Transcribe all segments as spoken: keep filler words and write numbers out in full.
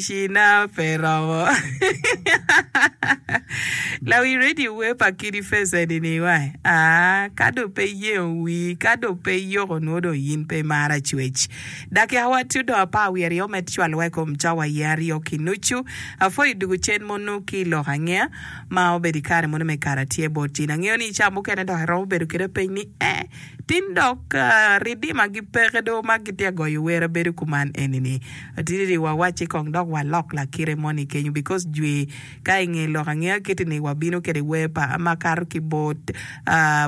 Cina pe romo. Lawi radio wer pa Kidi Face eni ni wa. Ah, ka do pe yengo wii, ka do pe yoko nwo dong yin pe imaro acwec. Dakika wa tye dong apar wiye aryo med cwalowa i kom cawa aye aryo ki nucu. Apwoyo dugu cen mono ki lok angeya ma obedo i kare mono me kara tye bot in. Angeyo ni i cawa mukene dok iromo bedo kede peny ni eh, Tin dok ridima gi peke do ma gitye agoyo wer abedo kuman eni ni atidi wa wacci kong dok wa lok lakite moni kenyo because jwi ka inge lok angeya kiti ni wa bino kede wer pa ma kato ki bot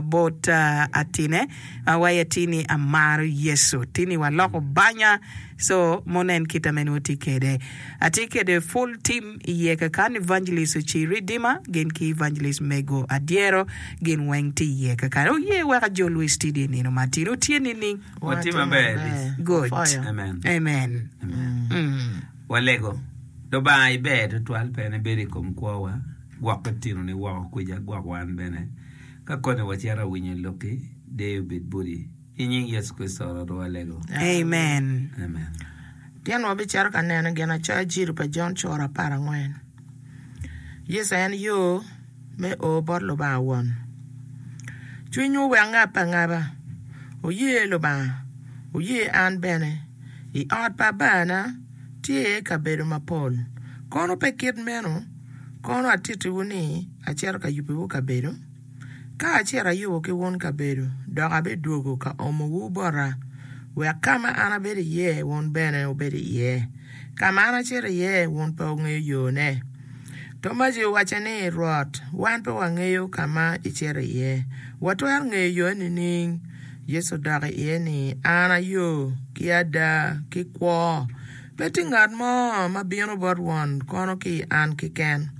bot atine ma waye ati ni amaro Yecu tini wa loko banya so mono en kita me nwo tye kede atye kede full team iye kakan evangelist Ocir Redeemer gin ki evangelist Mego Adyero gin weng tye iye kakan oye wek ajolwu i studio i nino ma tin otye nining? Watye maber Liz. Good. Amen. Amen. Amen. Mm. Walego. Lubanga iber tutwal pien ibedo i kom kwowa, gwok litinoni woko kwica, gwok wan bene. Ka koni wacito awinyo lokki, deyo obed boti. I nying Yecu Kricito Rwotwa walego. Amen. Amen. Tyen wabicito ka neno ginacoya Jiri pa Jon cura apar angwen. Yecu en yo me o bot Lubanga Won. Cwinywu wek ngabbe angaba, wuye Lubanga, wuye an bene. I ot pa Abana tye iye kabedo mapol. Kono pe kit meno, kono atittiwu ni acito ka yubiwu kabedo? Ka acito ayubo ki wun kabedo, dok abidwogo ka omowu bota, wek ka ma an abedo iye wun bene wubed iye. Ka ma an acito iye wun pe wungeyo yone. Tomaci owacce ni, Rwot, wan pe wangeyo ka ma icito iye, watwero ngeyo yone nining? Yecu odok iye ni, An a yo, ki ada, ki kwo. Pe tye ngat mo ma bino bot Won kono ki i an keken.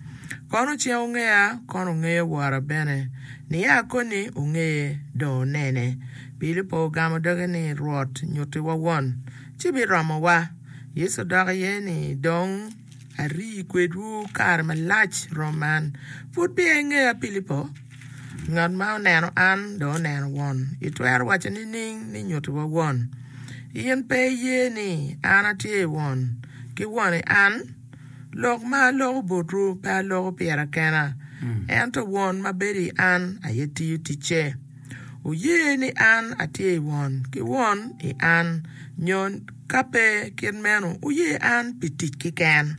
Kono ceng wungeya, kono wungeyo Wora bene. Nia koni wungeye, dong wunene. Pilipo ogamo doge ni, Rwot, nyuttiwa Won, ci biromowa. Yecu odok iye ni, Dong ari kwedwu kare malac rom man, pud peya ingeya, Pilipo? Ngat ma oneno an dong oneno Won. Itwero waco nining ni nyuttiwa Won? In pe iye ni an atye i Won, ki Won i an? Lok ma aloko botwu pe aloko pira kena, ento Won ma bedo i an aye tiyo ticce. Wuye ni an atye i Won, ki Won i an, nyo ka pe kit meno, wuye an pi tic keken.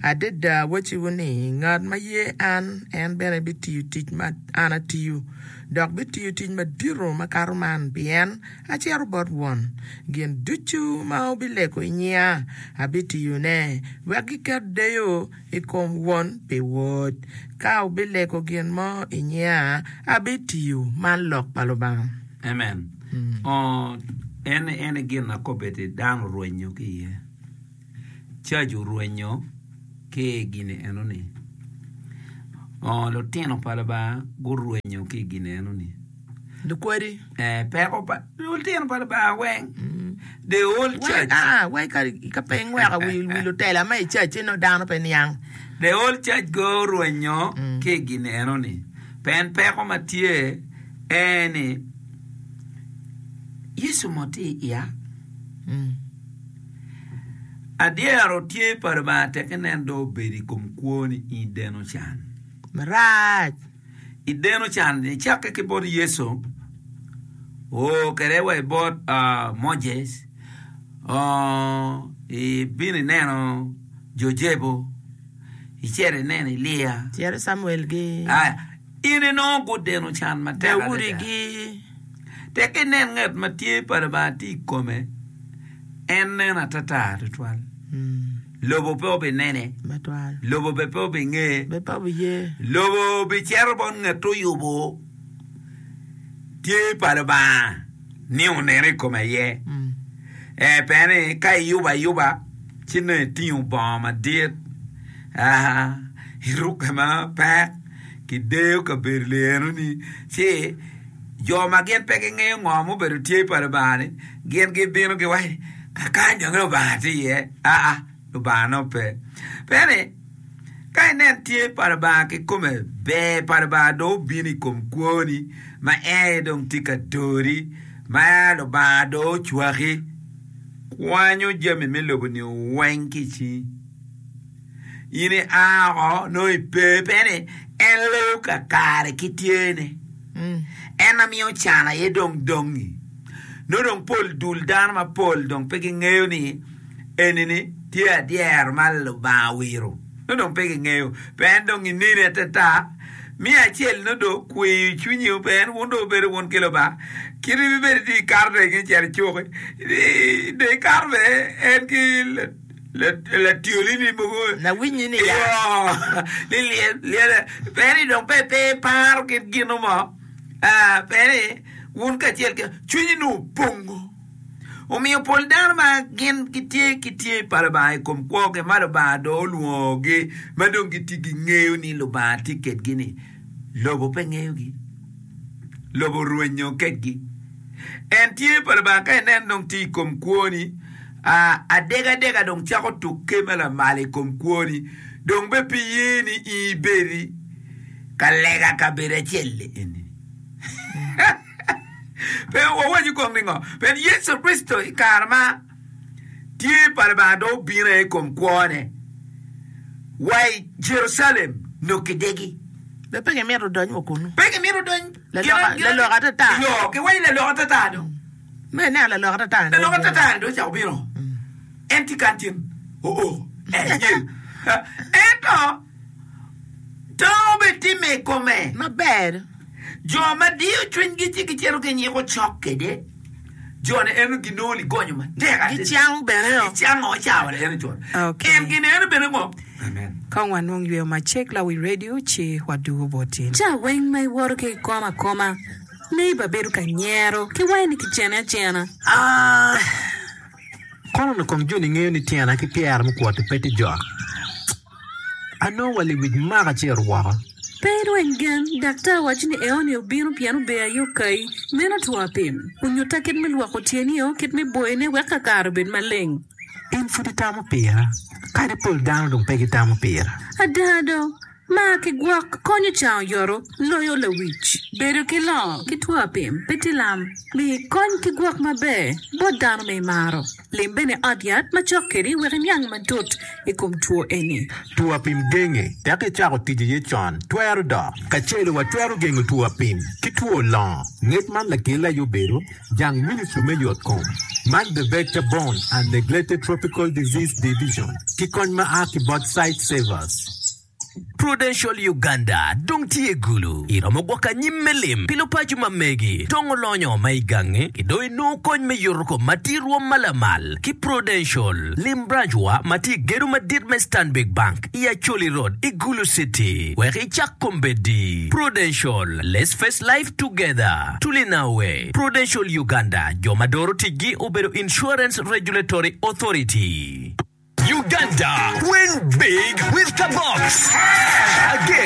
Adada awacciwu ni, ngat ma ye an, en bene bitiyo tic ma an atiyo, dok bitiyo tic madito makato man, pien acito bot Won. Gin ducu ma wubilego i nyinga, abitiyone, wek giket deyo i kom Won pi Wod. Ka wubilego gin mo i nyinga, abitiyo. Man lok pa Lubanga. Amen. Oh, en en aye gin ma kobeddi dano orwenyo ki iye. Cac orwenyo ki i gin enoni. Oh, lutino pa Lubanga gurwenyo ki i gin enoni. Lukwadi. Eh, peko pa lutino pa Lubanga weng. The whole church. Ah, wai ka ka pe ingweko wi wi lutela ma i church ci nongo dano pe niang. The whole church go orwenyo ki i gin enoni. Pien peko ma tye en ni Yecu mo tye i iya. Adyero tye pa Lubanga tek inen dong obedo i kom kwoni in ideno can. Marac. Ideno can nicakke ki bot Yecu oo kede wa i bot Moses ibino ineno Jojebo icito ineno Elia Cito Camuel gi. In inongo gudeno can matek adada. Daudi gi. Tek inen ngat ma tye pa Lubanga tye i kome, en nen atata twatwal. Lobo pe obinene, lobo bene pe obingeye, lobo bicito bot ngat oyubo tye pa Lubanga ni onene i kome aye. Ee, pien ni ka iyubo ayuba ci nongo itingo bongo madit, irukke mapek, kideyo kabedo lienoni ci Jo ma gin pe gingeyo ngo mubedo tye pa Lubanga-ni, gin gibino giwaco ni, 'Kakany dong Lubanga tye iye. Aa, Lubanga nongo pe. Pien ni, ka inen tye pa Lubanga kikome, ber pa Lubanga dong obino i kom kwoni, ma en aye dong tye ka dori, ma Lubanga dong ocwaki, kwanyo jami me lobo-ni weng ki i cingi. In ia oko nongo ipe pe ni en leyo kakare ki tyene. En ma miyo can aye dong dongi. Nongo dong pol dul dano mapol dong pe gingeyo ni eni-ni tye adyero ma Lubanga owiro. Nongo dong pe gingeyo. Pe en dong ineni atata. Miyo acel nongo dong okweyo cwinyi pe en wun dong wubedo wun ki Lubanga. Kit ibibedo itye ikato dong inge cito icuki. Dong ikato bene en ki Latyolini mogo Lawinyi ni ya. Ni lyel pe ni dong pe pe iparo kit gino mo pe ni wun kacel ki cwinyi nongo opongo omiyo pol dano ma gin gitye ki tye pa Lubanga i kom kwogi ma Lubanga dong olwongogi ma dong gitye gingeyo ni Lubanga tye kedgi ni lobo pe ngeyogi lobo orwenyo kedgi en tye pa Lubanga ka inen dong tye i kom kwoni Adegadega dong cako tukke ma lamal i kom kwoni, dong bene pe iye ni in ibedi ka lega kabedo acel-li eni. Pe wawaco kong ni ngo? Pien Yecu Kricito i kare ma tye pa Lubanga dong obino aye i kom kwone wa i Jerucalem nongo kidegi. Be pe gimito dony wa kunnu. Pe gimito dony. Lalok atata. Yo, giwaco lalok atata dong. Me ineno lalok atata-ni dong Lalok atata-ni dong ocako bino. En tye kany cen oo, en yel. Ento tango bene timme i kome. Maber. Jo ma diyo cwinygi ci gicito ginyiko cok kwede, jo-ni eno ginongo ligonyo matek adada. Gicang bene o. Gicango cawa eno con. Okay. En gin eno bene ngo? Amen. Kong wanwong yweyo macek lawi redio ci wadugo boti. Ca weng ma iwoto ki i kom akoma. Neighbor bedo ka nyero ki wange ni kicene acena. Ah! Kono onongo kong joni ngeyo ni tyena ki pyera mukwot-ti pe tye jok. Anongo wa lewic maka ci ero woko. Pe irweny gen, daktar owaco ni eoni obino pien ober aye okayi. Meno two apim. Onyutta kit me lwoko tyenio, kit me boyone wek kakare obed maleng. In pud itamo pira, kadi pol dano dong pe gitamo pira. Ada do, Mar ki gwok konyo cango yoto loyo lawic. Bedo ki longo ki two apim pe tye lam. Mi kony ki gwok maber bot dano ma imaro. Lim bene ot yat macok kedi wek iniang matut i kom two eni. Two apim genge tek icako tic iye con, twero dok. Kacelo watwero gengo two apim ki two longo. Ngec man lakelle aye obedo jang Ministry me Yot Kom man The Vector Borne and Neglected Tropical Disease Division ki kony ma a ki bot Sight Savers. Prudential Uganda dong tye i Gulu. Iromo gwoko anyim me lim pi lupaco ma megi, tongo lonyo ma i gangi, ki dong inongo kony me yuto kom ma tye i rwom ma lamal ki Prudential. Lim branch wa ma tye i gedo madit me Stanbic Bank i Acholi Road i Gulu City wek icak kombeddi. Prudential, let's face life together. Tulinawe. Prudential Uganda, jo ma doro ticgi obedo Insurance Regulatory Authority. Uganda, win big with Kabox! Again.